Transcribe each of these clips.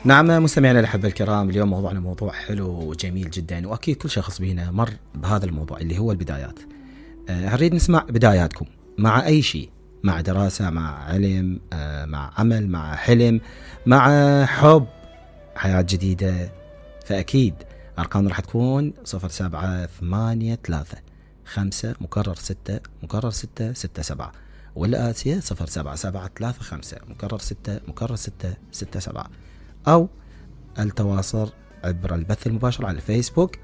نعم مستمعينا الأحبة الكرام، اليوم موضوعنا موضوع حلو وجميل جدا، وأكيد كل شخص بينا مر بهذا الموضوع اللي هو البدايات. نريد نسمع بداياتكم مع أي شيء، مع دراسة، مع علم، مع عمل، مع حلم، مع حب، حياة جديدة. فأكيد أرقامنا راح تكون 0783 5 _6 _6 7، والآتية 077356 أو التواصل عبر البث المباشر على الفيسبوك،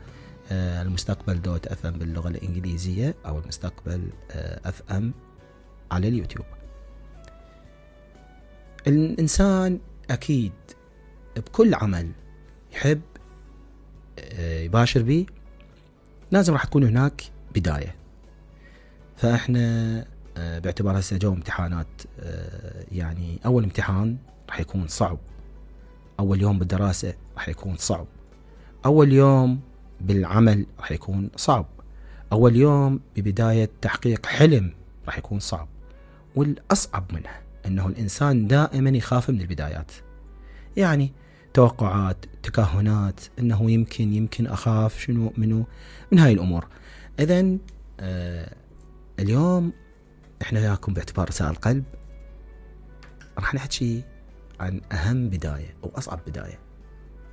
المستقبل دوت FM باللغة الإنجليزية، أو المستقبل FM على اليوتيوب. الإنسان أكيد بكل عمل يحب يباشر به لازم راح تكون هناك بداية. فإحنا باعتبار هسه جو امتحانات، يعني أول امتحان راح يكون صعب، أول يوم بالدراسة راح يكون صعب، أول يوم بالعمل راح يكون صعب، أول يوم ببداية تحقيق حلم راح يكون صعب. والأصعب منها أنه الإنسان دائما يخاف من البدايات، يعني توقعات، تكهنات، أنه يمكن أخاف شنو من هاي الأمور. إذن اليوم إحنا وياكم باعتبار رسائل قلب راح نحكي عن أهم بداية أو أصعب بداية،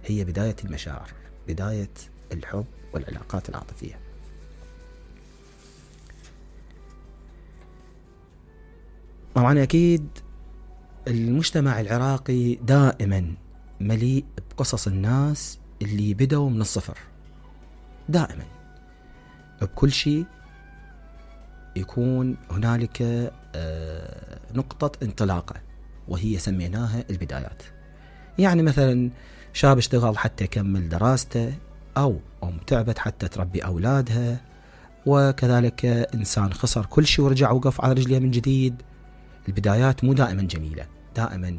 هي بداية المشاعر، بداية الحب والعلاقات العاطفية. طبعا أكيد المجتمع العراقي دائما مليء بقصص الناس اللي بدأوا من الصفر، دائما بكل شيء يكون هنالك نقطة انطلاقة، وهي سميناها البدايات. يعني مثلا شاب اشتغل حتى يكمل دراسته، أو أم تعبت حتى تربي أولادها، وكذلك إنسان خسر كل شيء ورجع وقف على رجليه من جديد. البدايات مو دائما جميلة، دائما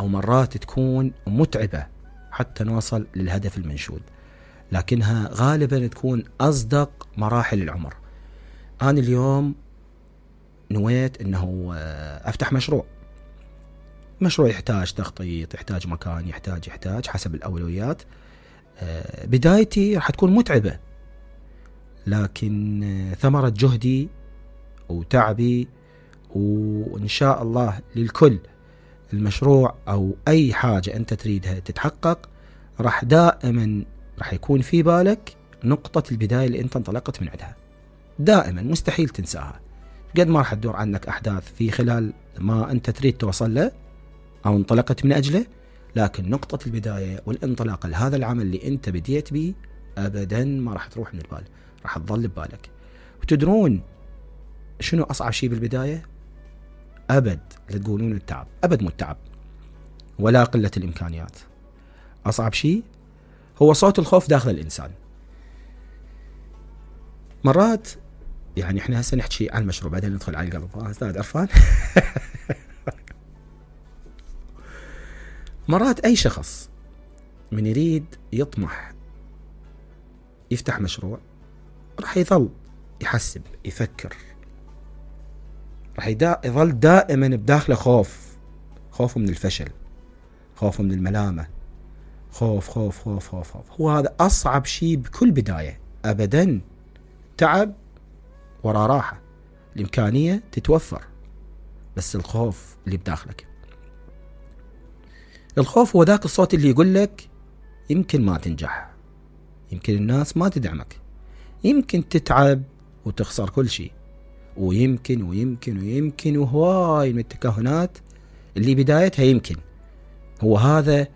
أو مرات تكون متعبة حتى نوصل للهدف المنشود، لكنها غالبا تكون أصدق مراحل العمر. أنا اليوم نويت أنه أفتح مشروع يحتاج تخطيط، يحتاج مكان، يحتاج حسب الأولويات. بدايتي راح تكون متعبة، لكن ثمرة جهدي وتعبي، وإن شاء الله للكل المشروع أو أي حاجة أنت تريدها تتحقق، دائما راح يكون في بالك نقطة البداية اللي أنت انطلقت من عندها، دائما مستحيل تنساها. قد ما راح تدور عنك أحداث في خلال ما أنت تريد توصل له أو انطلقت من أجله، لكن نقطة البداية والانطلاق لهذا العمل اللي أنت بديت به أبدا ما راح تروح من البال، راح تظل ببالك. وتدرون شنو أصعب شيء بالبداية؟ أبد لا تقولون التعب، أبد مو التعب ولا قلة الإمكانيات. أصعب شيء هو صوت الخوف داخل الإنسان. مرات يعني إحنا هسه نحكي عن المشروع بعدين ندخل على القلب، أستاذ عرفان. مرات أي شخص من يريد يطمح يفتح مشروع راح يظل يحسب يفكر، راح يظل دائما بداخله خوفه من الفشل، خوفه من الملامة، خوف. هو هذا أصعب شيء بكل بداية. أبدا تعب ورا راحة، الإمكانية تتوفر، بس الخوف اللي بداخلك، الخوف هو ذاك الصوت اللي يقول لك يمكن ما تنجح، يمكن الناس ما تدعمك، يمكن تتعب وتخسر كل شيء، ويمكن وهواي من التكهنات اللي بدايتها يمكن. هو هذا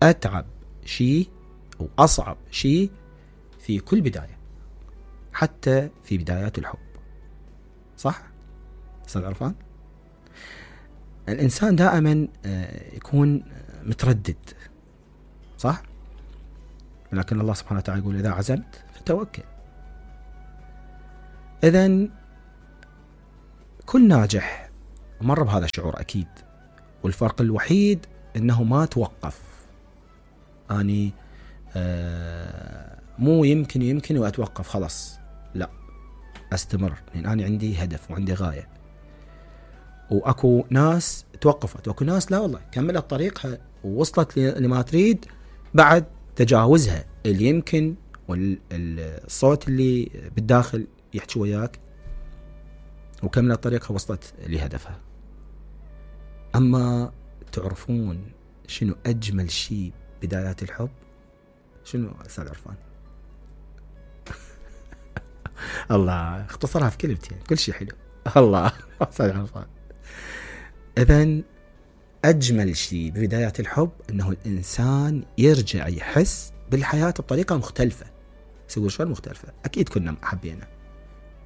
أتعب شيء وأصعب شيء في كل بداية، حتى في بدايات الحب. صح أستاذ عرفان؟ الإنسان دائما يكون متردد، صح؟ لكن الله سبحانه وتعالى يقول إذا عزمت فتوكل. إذن كل ناجح مر بهذا الشعور أكيد، والفرق الوحيد أنه ما توقف. أني مو يمكن وأتوقف خلاص، لا، أستمر، لأن أنا عندي هدف وعندي غاية. واكو ناس توقفت، واكو ناس لا والله كملت طريقها ووصلت لما تريد بعد تجاوزها، اللي يمكن والصوت اللي بالداخل يحكي وياك وكملت طريقها وصلت لهدفها. اما تعرفون شنو اجمل شيء بدايات الحب؟ شنو استاذ عرفان؟ الله اختصرها في كلمتين، كل شيء حلو. الله استاذ عرفان. اذن اجمل شيء ببدايات الحب انه الانسان يرجع يحس بالحياة بطريقة مختلفة. يقول شلون مختلفة؟ اكيد كنا حبينا،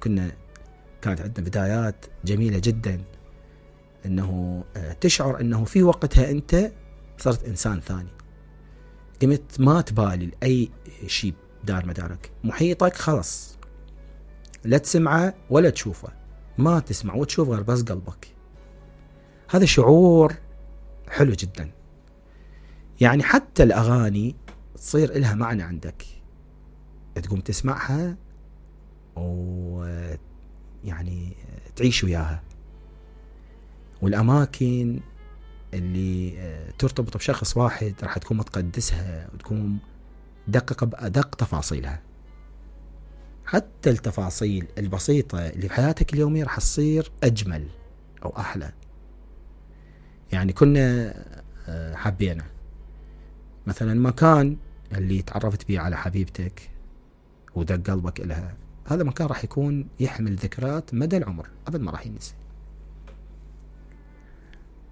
كانت عندنا بدايات جميلة جدا، انه تشعر انه في وقتها انت صرت انسان ثاني، قمت ما تبالي لاي شيء دار مدارك، محيطك خلص لا تسمعه ولا تشوفه، ما تسمع وتشوف غير بس قلبك. هذا شعور حلو جدا. يعني حتى الاغاني تصير إلها معنى عندك، تقوم تسمعها ويعني تعيش وياها. والاماكن اللي ترتبط بشخص واحد راح تكون متقدسها وتكون دقق بأدق تفاصيلها. حتى التفاصيل البسيطة اللي في حياتك اليومية راح تصير أجمل أو أحلى. يعني كنا حبينا مثلا مكان اللي تعرفت بيه على حبيبتك ودق قلبك إلها، هذا مكان راح يكون يحمل ذكريات مدى العمر، أبد ما راح ينسى.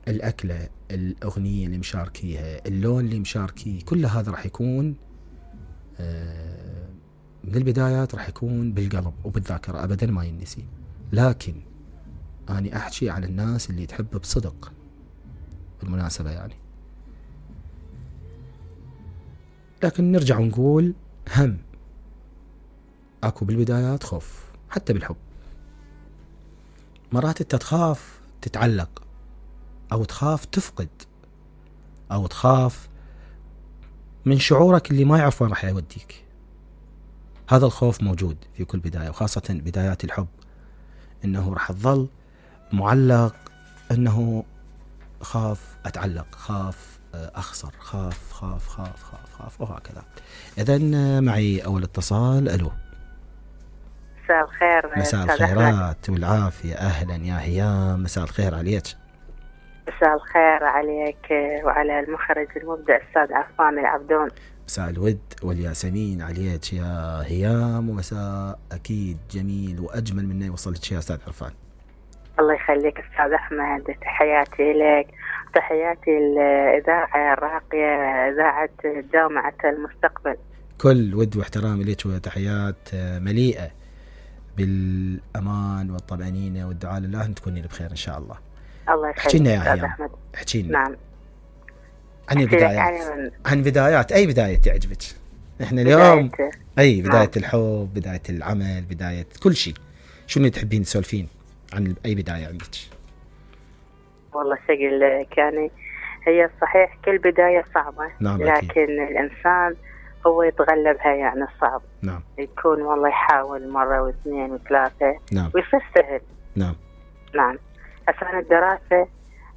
الأكلة، الأغنية اللي مشاركيها، اللون اللي مشاركيه، كل هذا راح يكون من البدايات راح يكون بالقلب وبالذاكرة، أبدا ما ينسي. لكن أنا أحكي عن الناس اللي تحب بصدق بالمناسبة يعني. لكن نرجع ونقول هم أكو بالبدايات خوف، حتى بالحب مرات أنت تخاف تتعلق، أو تخاف تفقد، أو تخاف من شعورك اللي ما يعرف وين راح يوديك. هذا الخوف موجود في كل بداية، وخاصة بدايات الحب، إنه راح تظل معلق، إنه خاف أتعلق، خاف أخسر، خاف خاف خاف خاف خاف وهكذا. إذن معي أول اتصال. ألو. مساء الخير. مساء الخيرات والعافية. أهلا يا هيام، مساء الخير عليك. مساء الخير عليك وعلى المخرج المبدع أستاذ عرفان العبدون. مساء الود والياسمين عليك يا هيام، ومساء أكيد جميل وأجمل من يوصلك يا أستاذ عرفان. الله يخليك أستاذ أحمد، تحياتي لك، تحياتي الإذاعة الراقية، إذاعة جامعة المستقبل. كل ود واحترامي لك، وتحيات مليئة بالأمان والطمأنينة والدعاء لله أن تكوني بخير إن شاء الله. الله يخليك. احكي لنا يا هيام، احكي لنا. نعم. عن البدايات، عن بدايات، أي بداية تعجبك؟ إحنا اليوم أي بداية. نعم. الحب، بداية العمل، بداية كل شيء، شنو تحبين تسولفين عن أي بداية عندك؟ والله شغل يعني هي صحيح كل بداية صعبة. نعم. لكن أكيد. الإنسان هو يتغلبها يعني الصعب. نعم. يكون والله يحاول مرة واثنين وثلاثة. نعم. ويصير سهل. نعم. نعم. هسه الدراسة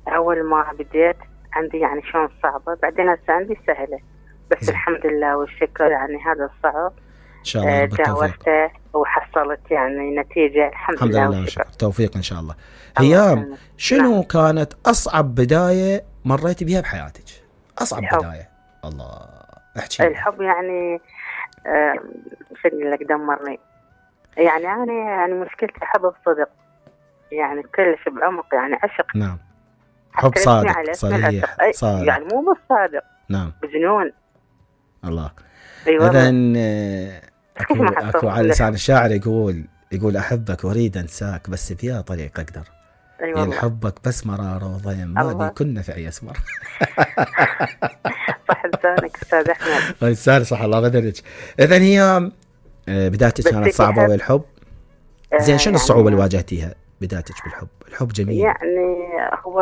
أول ما بديت عندي يعني شلون صعبة، بعدين هسه عندي سهلة، بس زي. الحمد لله والشكر يعني هذا الصعب إن شاء الله تجاوزته وحصلت يعني نتيجة الحمد لله والشكر. توفيق إن شاء الله. هيام، شنو نعم. كانت أصعب بداية مريتي بها بحياتك؟ أصعب الحب. بداية. الله، احكي. الحب يعني شنو لك دمرني. يعني أنا يعني مشكلتي حب بصدق، يعني كلش بعمق، يعني عشق. نعم. حب صادق صريح صادق، يعني مو بس صادق. نعم. بجنون. الله. أيوة. إذن أكو على لسان الشاعر يقول أحبك وأريد أنساك، بس بيا طريق أقدر. أيوة. الحبك بس مرار وضيم، ما بي كنا في أي أسمر. صح لسانك أستاذ أحمد. لساني صح، الله بدرك. إذن هي بدايتك كانت صعبة والحب. زين، شنو الصعوبة اللي واجهتيها بدايتك بالحب؟ الحب جميل. يعني هو